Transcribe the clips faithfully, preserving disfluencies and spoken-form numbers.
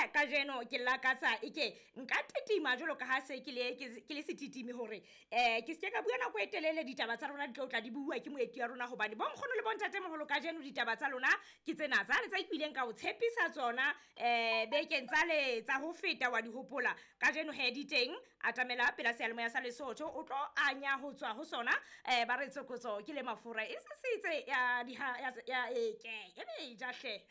he kajeno ke lakatsa eke nka titima jwalo ka ha se ke le ke le setitimi hore eh ke se ka bua nako e telele. Ditaba tsa rona di tlo tla di bua ke moeti wa rona, hobane bonkgono le bontatemoholo kajeno ditaba tsa lona ke tsena tsane tsa ikileng ka o tshepisa tsona eh bekeng tsale tsa ho feta wa di hopola. Kajeno he di teng, atamela pela seyalemoya sa Lesotho o tlo anya ho tswa ho sona eh ba re tsokotso ke le mafura e sesitse ya di ya ya e ke e be ja hle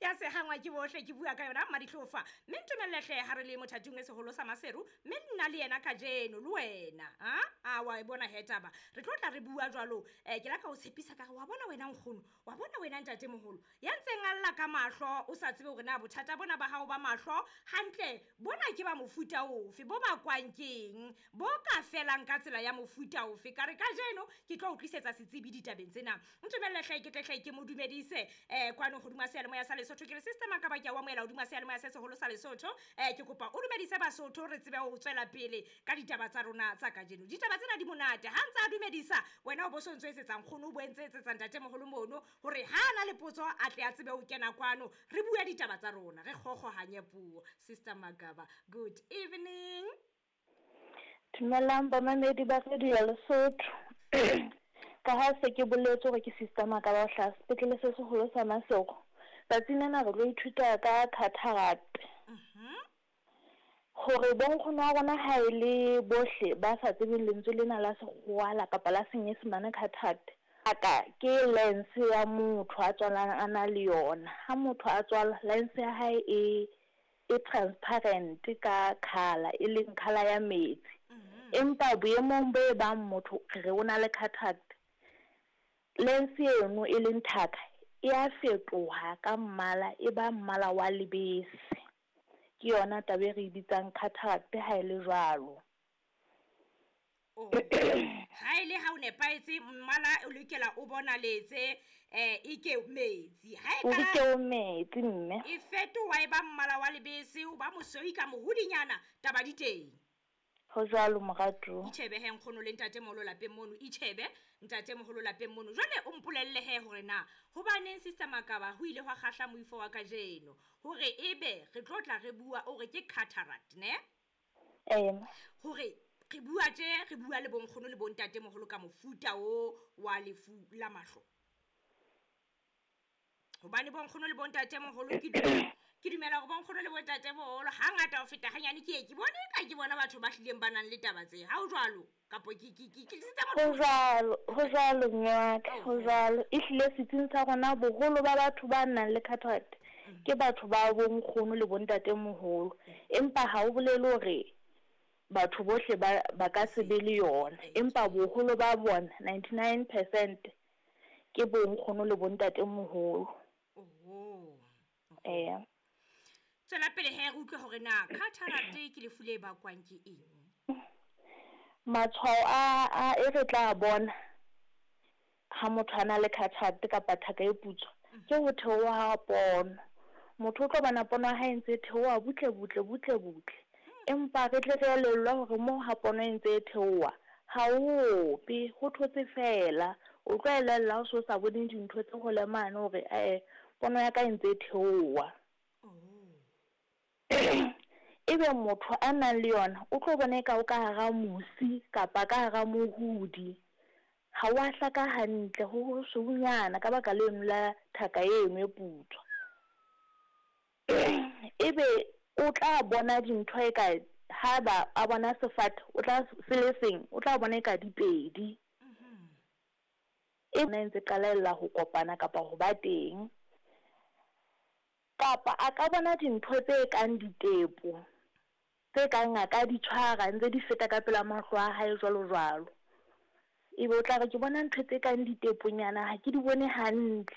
ya se hangwa ke bohle. Ke bua ka yona Mmadihlofa, mme ntumelle hle ha re le mothating e seholo sa Maseru, mme nna le yena kajeno le wena a a wa e bona he taba re tlo tla re bua jwalo. Eh ke la ka o tshepisa ka re wa bona wena nkgono, wa bona wena ntatemoholo ya ntseng a lla ka mahlo, o sa tsebe hore na bothata bona ba hao ba mahlo hantle bona ke ba mofuta ofe, bo bakwang keng, bo ka felang ka tsela ya mofuta ofe. Ka re kajeno ke tlo o tlisetsa setsebi ditabeng tsena. Ntumelle hle ke tle hle ke mo dumedise eh kwano hodima seyalemoya sa Lesotho. Ke re Sister Makaba, ke a o amohela hodima seyalemoya se seholo sa Lesotho. Eh ke kopa o dumedise Basotho re tsebe ho tswela pele ka ditaba tsa rona tsa kajeno. Ditaba tsena di monate. Ha ntse a dumedisa wena o bo so ntso etsetsa nkgono, o bo entse etsetsa ntatemoholo mono hore ha ana le potso a tle a tsebe ho kena kwano re bue ditaba tsa rona, re kgokgohanye puo. Sister Makaba, good evening. Dumelang bamamedi ba Radio ya Lesotho. Ka ha se ke boletse hore ke Sister Makaba ho hlaha sepetlele se seholo sa Maseru. Tsatsing lena re tlo ithuta ka cataract. Hore bonkgono wa rona ha e le bohle ba sa tsebeng lentswe lena la sekgowa la kapa la senyesemane cataract, aka ke lens ya motho a tswalang a na le yona. Ha motho a tswalwa lens ya hae e e transparent ka colour, e leng colour ya metsi. Empa boemong bo e bang motho re re o na le cataract, lens eno e leng thaka e a fetoha ka mmala, e ba mmala wa lebese. Ke yona taba e re bitsang cataract ha e le jwalo. Oh. Ha ile ha o nepahetse mmala o lokela o bonaletse eh ike metsi. Ha e O ka ke o metsi mme. e fetoha e ba mmala wa lebese, o ba mosweu ka mohodinyana, taba di teng. Ho jwalo moratuwa. Itjhebe he nkgono le ntatemoholo lapeng mono, itjhebe ntatemoholo lapeng mono. Jwale o mpolelle he hore na hobaneng Sister Makaba ho ile hwa kgahla moifo wa kajeno hore ebe re tlo tla re bua o re ke cataract ne? Eh. Hore re bua tje re bua le bonkgono le bontatemoholo ka mofuta o wa lefu la mahlo. Hobane bonkgono le bontatemoholo ke dumela ke dumela hore bonkgono le bontatemoholo hangata ho feta hanyane ke ye ke bone ka ke bona batho ba hlileng ba nang le taba tse. Ha ho jwalo kapo ke ke ke ke tlisitse Ho motho. jwalo, ho jwalo mme wa ka, ho jwalo. Ehlile setsing sa rona boholo ba batho ba nang le cataract ke batho ba bonkgono le bontatemoholo. Empa ha o bolele hore batho bohle ba ba ka se be le yona, empa boholo ba bona ninety-nine percent ke bonkgono le bontatemoholo. Oho. Eh. Tswela pele he re utlwe hore na cataract ke lefu le bakwang ke eng. Matshwao a a e re tla bona ha motho a na le cataract kapa thaka e putswa ke ho theoha ha pono. Motho o tlo bona pono ya hae e ntse e theoha butle butle butle butle. Empa re tle re elellwe hore moo ha pono e ntse e theoha ha o ope, ho thotse fela. O tlo elella ha o so sa bone dintho tse hole mane hore eh pono ya ka e ntse e theoha. Ebe motho a nang le yona o tlo bona eka o ka hara mosi kapa ka hara mohudi. Ha wa hlaka hantle, ho ho sweunyana ka baka leno la thaka eno e putswa. Ebe o tla bona dintho eka ha ba a bona sefate o tla se le seng, o tla bona eka di pedi. E ntse qalella ho kopana kapa ho ba teng. Kapa a ka bona dintho tse kang ditepo, tse kang a ka di tshwara ntse di feta ka pela mahlo a hae jwalo jwalo. Ebe o tla re ke bona ntho tse kang diteponyana ha ke di bone hantle.